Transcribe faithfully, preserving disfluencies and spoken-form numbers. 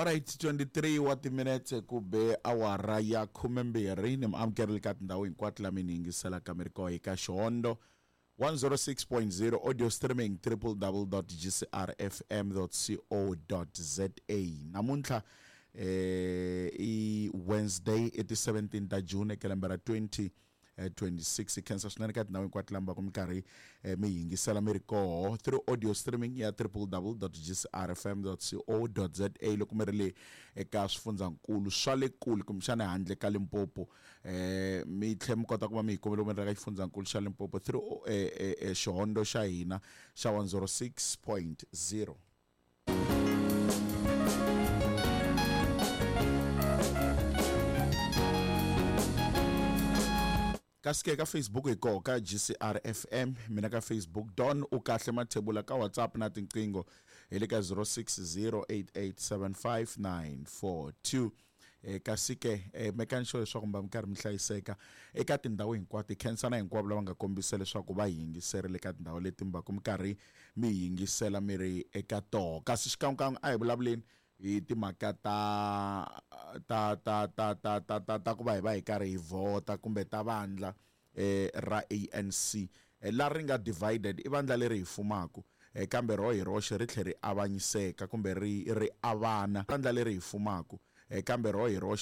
Alright, twenty-three wa timinetse ku be awara ya khumembirhi. Ni mi amukerile ka tindhawu hinkwato la mi ni yingiselaka mi ri koho eka Xihondo one zero six point zero audio streaming triple double dot g c r f m dot c o dot z a. Namuntlha eh i Wednesday i ti seventeen ta June eka lembe ra twenty twenty-six. Hi khensa swinene ka tindhawu hinkwato lama ku minkarhi mi yingisela mi ri koho through audio streaming ya triple double dot g c r f m dot c o dot z a. Loko mi ri le eka swifundzankulu swa le kule kumbexana handle ka Limpopo, eh mi tlhe mi kota ku va mi hi kumile mi ri ka xifundzankulu xa Limpopo through eh, eh, xihondo xa hina xa one zero six point zero. Kasi ke ka Facebook hi koho ka G C R F M, mina ka Facebook Don u kahle Mathebula, ka WhatsApp na tinqingho hi le ka zero six zero eight eight seven five nine four two. Eh, kasi ke, eh, mekani sure leswaku mi va mi karhi mi hlayiseka eka tindhawu hinkwato. Hi khensana hinkwavo lava nga kombisa leswaku va hi yingiserile eka tindhawu leti mi va ku mi karhi mi yingisela mi ri eka toho. Kasi xikan'wekan'we a hi vulavuleni hi timhaka ta, ta, ta, ta, ta, ta, ta, ta ku va hi va hi karhi hi vhota kumbe ta vandla, eh, ra A N C, eh, la ri nga divided, i vandla leri hi fumaku, eh, kambe ro hi roxe ri tlhe ri avanyiseka kumbe ri, ri avana. Vandla leri hi fumaku, eh, kambe ro hi roxe